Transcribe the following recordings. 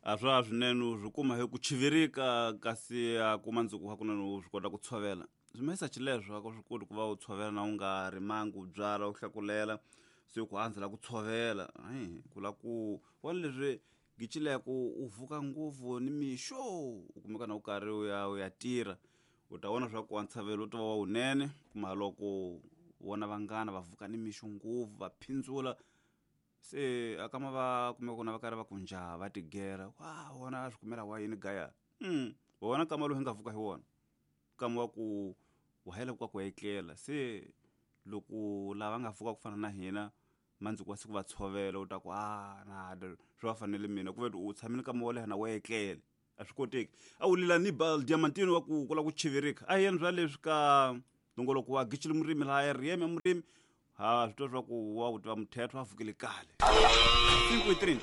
A swa swinene u swi kuma hi ku chivirika kasi a kuma ndzuku hakunene u swi kota ku tshovela. Swi mahisa xileswo a ku swi koti ku va u tshovela na u nga rimangi u byala u hlakulela se ku andzela ku tshovela. Hayi ku la ku vona leswi gicileko u vuka ngopfu ni mixo u kumeka na u karhi u ya u ya tirha u ta vona swa ku a ntshavelo u ta va wa wunene kuma loko vona vanghana va vuka ni mixo ngopfu va phindzula se a kama va kumeka kona va karhi va ku njha va tigera wa wona a swi kumela wa yini gaya wona kama lowu hi nga vuka hi wona kama wa ku wa hela ku ku etlela se loko lava nga vuka ku fana na hina mandzuku wa siku va tshovela u ta ku a na swi va fanele mina ku ve u tshamile kama wo leha na wa etlele a swi koteki a wu lila ni bal diamantini wa ku kula ku chivirika a yena swa leswi ka nongoloko wa gicile murimi laha ya riyeme murimi ha swi twa swa ku wa ku tiva muthetho a vukile kale 5:30.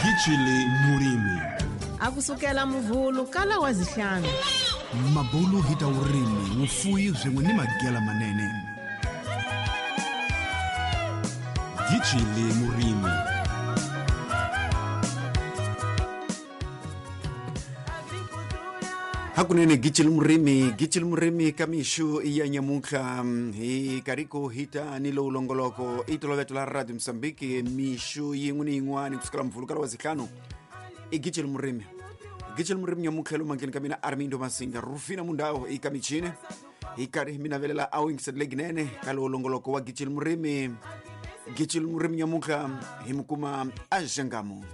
Gicile murimi. A kusukela muvhulu kala wa zihlanu. Mabulu hi ta vurimi, vufuwi swin'we ni magela manene. Gicile murimi. Hakunene gicile murimi, gicile murimi ka mixo ya nyamuntlha hi kariko hita ni lowu longoloko i toloveto la Radio Mozambique mixo yin'we ni yin'wana kusukela muvhulu wa zihlanu i gicile murimi. Gicile murimi nyamuntlha lomu mandleni ka mina Armindo Masinga Rufina Mundau i ka michini hi karhi mi navelela a wingiserile ginene ka lowu longoloko wa gicile murimi. Gicile murimi nyamuntlha hi mi kuma a Xangamu.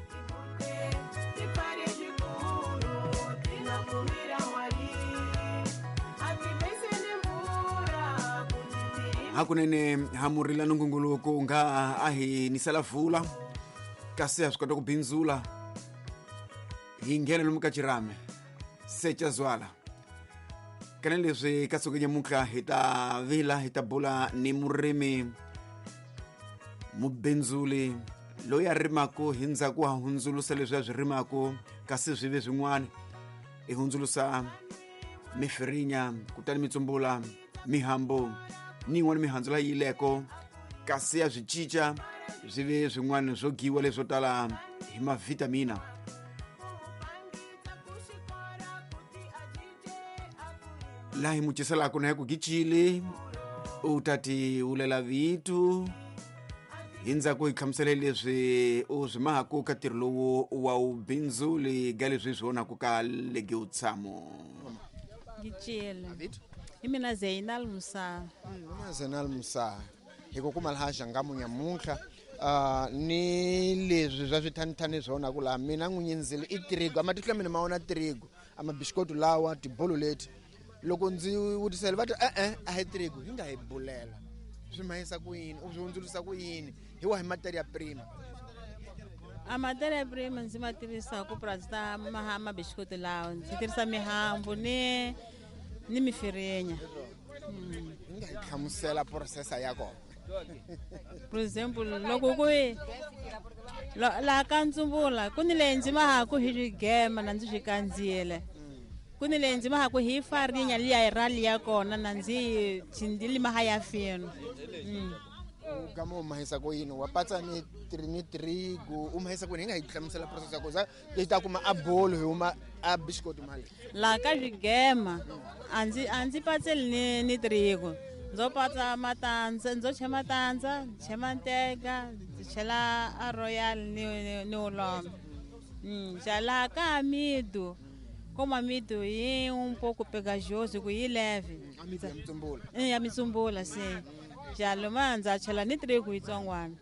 Hakunene hamurila nungunguluku nga a hi nisela vula kasi ha swi kota ku bindzula hi nghena lomu ka xirhami se ca zwala kana leswi ka siku nyamuntlha hi ta vila hi ta bula ni murimi mubindzuli loyi a rimaku hi ndzhaku ha hundzulusa leswi a swi rimaku kasi swi ve swin'wana i hundzulusa mifirinya kutani mitsumbula mihambu ni yin'wana mihandzu leyi yileko kasi ya swi cinca swi ve swin'wana swo giwa leswo tala hi mavhitamina. Laha hi muciselaka na hi ku gicile u ta ti vulela vitu hi ndzhaku hi hlamusele leswi u swi mahaku ka ntirho lowu wa wubindzuli ga leswi swi vonaku ka lege utshamo. Gicile. Hi mina Zainal Musa. Mina Zainal Musa. Hi ku kuma laha Xangamu nyamuntlha ni leswi swa swithanithani swona ku laha mina n'winyi ndzilo i trigo amatihlo ya mina ma wona trigo amabishikoto lawa tibolo leti loko ndzi vutisela va ti e-e a hi trigo hi nga hi bulela swi mahisa ku yini u swi hundzulusa ku yini hi wahi materia prima? A materia prima ndzi ma tirhisa ku purasi ta mabishikoto lawa ndzi tirhisa mihambu ni mifirinya. Hi nga hi hlamusela processa ya kona. For example loko ku laha ka ntsumbula ku ni leyi ndzi mahaku hi swigema na ndzi swi kandziyele ku ni leyi ndzi mahaku hi farinya liya hi rali ya kona na ndzi ndzi maha ya fino. U gama u mahisa ku yini wa patsa ni ni trigo u mahisa ku yini hi nga hi hlamusela process ya kona yi ta kuma a bolo hi huma a biscuit mali. Laha ka swigema a ndzi patseli ni trigo ndzo patsa matandza ndzo chela matandza chela nteka ndzi chela a royal ni ulombe. Ja laha ka amido como amido yi un pouco pegajoso ku yi leve. Amido ya mitsumbula. Ya mitsumbula sim. Ja loma ndza chela ni trigo yitsongwana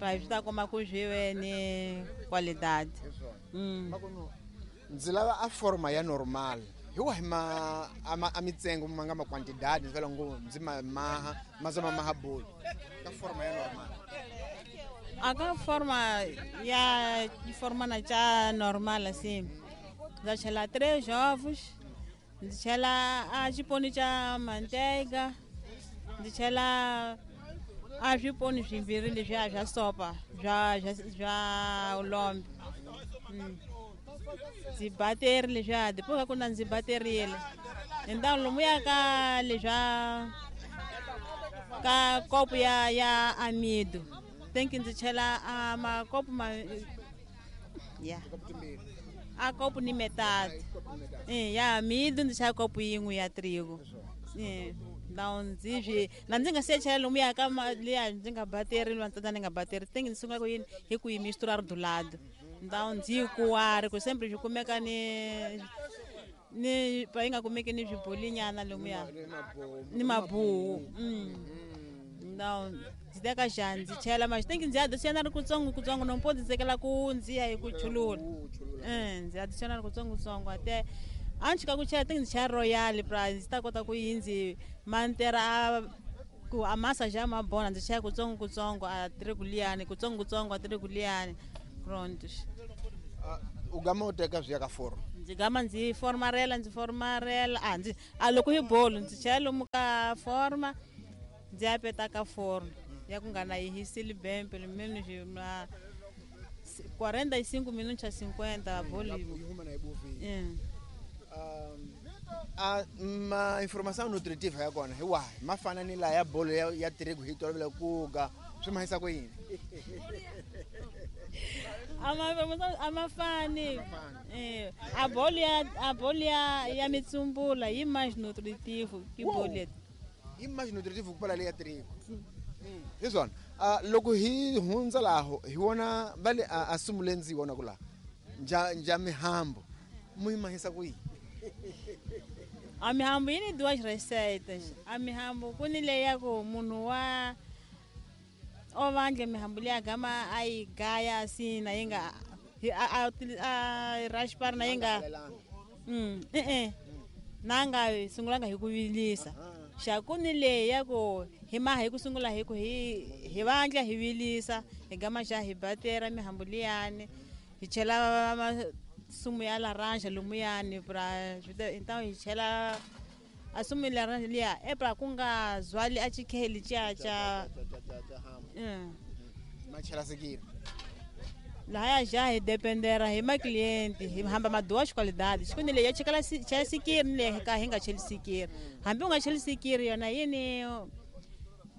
pa swi ta kuma ku swi ve ni qualidade. Ndzi lava a forma ya normal hi wahi ma a mitsengo ma nga ma quantidade ndzi vela ngo ndzi ma maha ma za ma maha bolo ka forma ya normal. A ka forma ya forma na cha normal assim ndza chela 3 ovos ndzi chela a xiponi xa manteiga ndzi chela a swiponi swimbirhi leswiya swa sopa swa ulombe. Ndzi bateri leswiya depois ka ku na ndzi baterile então lomuya ka leswa ka kopo ya amido. Think ndzi chela a makopo ma ya a kopo ni metade ya mido ndzi chela kopo yin'we ya trigo now ndzi swi na ndzi nga se chela lomuya ka liya ndzi nga bateri lwantsanda ni nga bateri think ndzi sungula ku yini hi ku yi misturar do lado então ndzi kuwari ku sempre swi kumeka ni pa yi nga kumeki ni swibolinyana lomuya ni mabuwu now ndzi teka xa ndzi chela ma think ndzi adiciona ri kutsongo kutsongo no mpo ndzi tsekela ku ndzi ya hi ku chulula ndzi adiciona ri kutsongo kutsongo ate a ndzi chika ku chela think ndzi chela royal pra ndzi ta kota ku yi ndzi mantera ku a massa já ma bona ndzi chela kutsongo kutsongo a trigo liyani kutsongo kutsongo a trigo liyani pronto. U gama u teka swi ya ka forma ndzi gama ndzi formarela a ndzi a loko hi bolo ndzi chela lomu ka forma ndzi ya peta ka forno ya ku nga na yi hiseli bempe meno na 45 minutos a 50 bolo yi huma na yi bovile. A ma informação nutritiva ya kona hi wahi ma fana ni la ya bolo ya trigo hi tolovela ku ga swi mahisa ku yini? A mafani a bolo ya mitsumbula yi mais nutritivo que bolo yi mais nutritivo ku pala leya trigo hi swona. Loko hi hundza laho hi vona va le a sungule ndzi vona ku laha nja mihambo mu yi mahisa ku yini? A mihambo yi ni duas receitas. A mihambo ku ni leya ku munhu wa o vandle mihambo liya gama a yi gaya assim na yi nga a raspar na yi nga na nga sungulanga hi ku vilisa. Xa ku ni leya ku hi maha hi ku sungula hi ku hi vandla hi vilisa hi gama xa hi batera mihambo liyani hi chela sumo ya laranja lomuyani pra então hi chela a sumo ya laranja liya e pra ku nga zwali a chikheli cha cha ma chela sikiri lahaya já hi dependera hi ma cliente hi hamba ma duas qualidades ku ni leya chela chela sikiri ni leya ka hi nga cheli sikiri hambi u nga cheli sikiri yona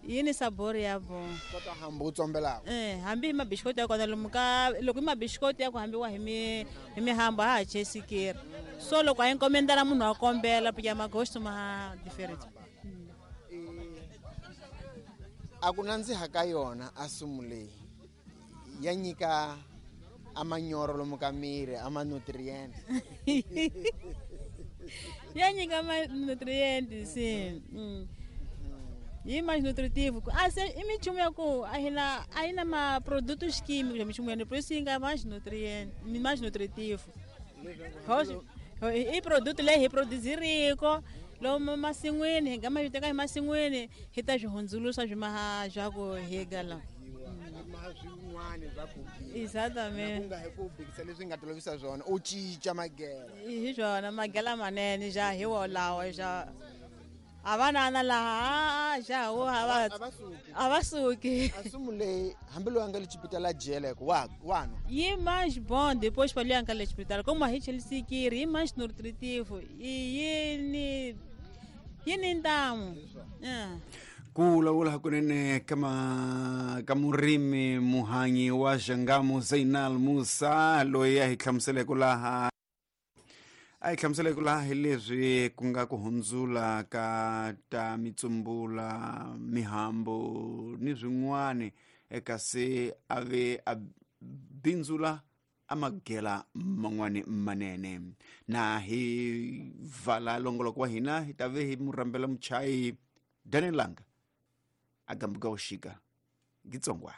yini sabor ya bo kota hambi u tsombelaka hambi hi mabishikoti ya kona lomu ka loko hi mabishikoti ya ku hambiwa hi mihambo a ha cheli sikiri so loko a yi nkomendela munhu a kombela porque magosto ma different. A ku nandziha ka yona a sumu leyi ya nyika a manyoro lomu ka miri a ma nutrient ya nyika ma nutrient sim yi mais nutritivo a se i minchumu ya ku a hi na ma produtos químicos minchumu ya por isso yi nga mais nutrient mais nutritivo i produto leyi hi produziriko lomu masin'wini hi nga ma teka hi masin'wini hi ta swi hundzuluxa swi maha swa ku hi gala exatamente ku nga hi ku bikisa leswi nga tolovisa swona u cinca magela hi swona magela manene ja hi wolawo ja a va nana laha ja wo a va suki. A sumu leyi hambi loyi a nga le xipitala jele ku wa nwa yi mais bom depois pa loyi a nga le xipitala como a hi cheli sikiri yi mais nutritivo yi ni ntamu. Ku vulavula hakunene ka murimi muhanyi wa Xangamu Zainal Musa loyi a hi hlamuseleke laha hi leswi ku nga ku hundzula ka ta mitsumbula mihambo ni swin'wani kasi a ve a bindzula a magela man'wani manene. Na hi vala longoloko wa hina hi ta ve hi murhambela muchayi Daniel Langa a gambuka uxika ngitsongwane.